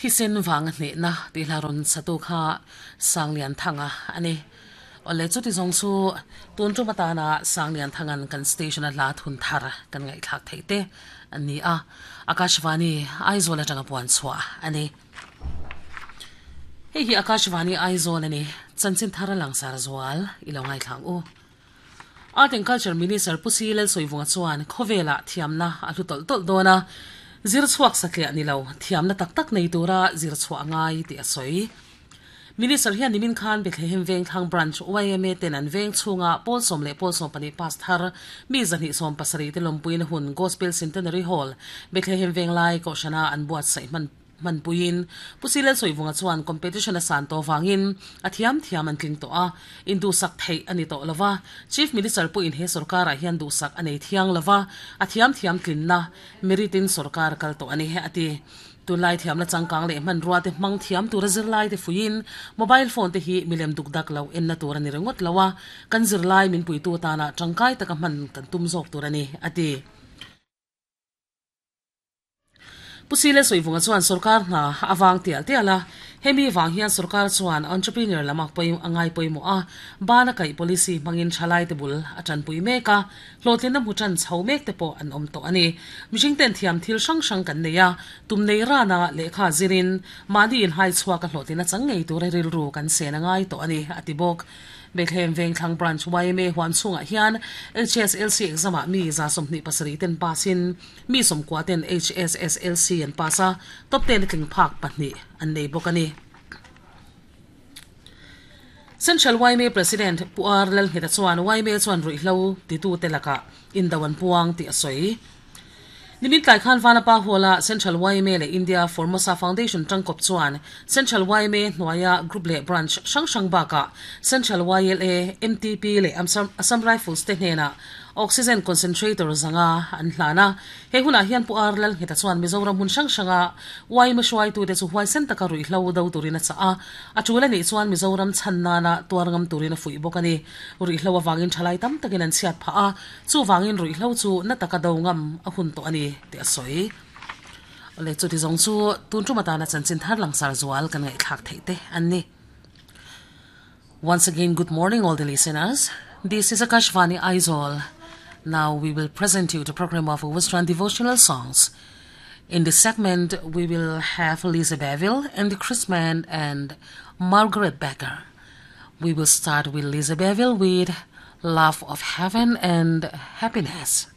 Thisen vanga hnehna tih hla rawn satu kha Sanglianthanga a ni. Awle chuti zawng chu tun tum atana Sanglianthanga'n kan station a hla thun thar kan ngaihthlak theih te a ni a, Akashvani Aizawl atanga puan chhuah a ni. Hei hi Akashvani Aizawl a ni, chanchin thar a langsar zual i lo ngaithla ang u. Art and Culture Minister Pu Si Lalsawivunga chuan khawvelah thiamna a hlu tawlh tawlh dawn a, zir chhuak satliah ni lo, thiamna tak tak nei tura zir chhuah a ngai tih a sawi. Minister hian nimin khan Bethlehem Vengthlang Branch yma ten an veng chhunga pawl sawm leh pawl 12 pass thar mi 270 te lawmpuina hun Gospel Centenary Hall, Bethlehem Venglai Kohhrana an buatsaih hman Hmanpuiin Pu Silel Sawivunga chuan competition a san tawh vangin a thiam thiam an tling tawh a, induhsak theih a ni tawh lo va. Chief Minister pawhin he sorkarah hian duhsak a nei thiang lo va, a thiam thiam tlinna merit in sorkar kal tawh a ni, a ti. Tunlai thiamna changkang leh hmanrua te hmang thiam tura zirlai te fuiin mobile phone te hi milem duk dak lo enna tur a ni ringawt lo a, kan zirlai min puitu atana tangkai taka hman kan tum zawk tur a ni, a ti. Pu Sile Sawivunga chuan sorkar hna a vang tial tial a, hemi vang hian sorkar chuan entrepreneur lam a a ngai pawimawh a, ban a kaih policy hmangin thalaite bul a tanpui mek a, hlawhtlinna hmu tan chho mek te pawh an awm tawh a ni. Mihring ten thiam thil hrang hrang kan nei a, tum nei rana lehkha zirin mahni inhai chhuak a hlawhtlina chang ngei tura rilru kan sen a ngai tawh a ni, a ti bawk. Bethlehem Vengthlang Branch yma huan chhungah hian HSLC exam ah mi 27 ten pass in mi 90 ten HSSLC an pass a, top ten a tling phak pahnih an nei bawk a ni. Central yma President Pu R Lalngheta chuan yma chuan ruihhlo titute lakah indo an puang tih a sawi. Nimin tlai khan Vanapa Hall-a Central yma leh India Formosa Foundation tangkawp chuan Central yma hnuaia Group leh Branch hrang hrang bakah Central YLA, MTP leh Assam Rifles te hnenah Oxygen Concentrator zanga an hlan a. He hunah hian Pu R Lalngheta chuan Mizoram hmun hrang hranga yma hruaitute chu huaisen taka ruihhlo do turin a chah a, a tul a nih chuan Mizoram chhan nana tuar ngam turin a fuih bawk a ni. Ruihhlo avangin thalai tam takin an chhiat phah a, Chuvangin ruihhlo chu na taka do ngam a hun tawh a ni tih a sawi. Awle chuti zawng chu tun tum atana chanchin thar langsar zual kan ngaihthlak theih te an ni. Once again good morning all the listeners. This is Akashvani Aizawl. Now we will present you the program of Western devotional songs. In this segment we will have Lisa Beville, Andy Chrisman and Margaret Becker. We will start with Lisa Beville with Love of Heaven and Happiness.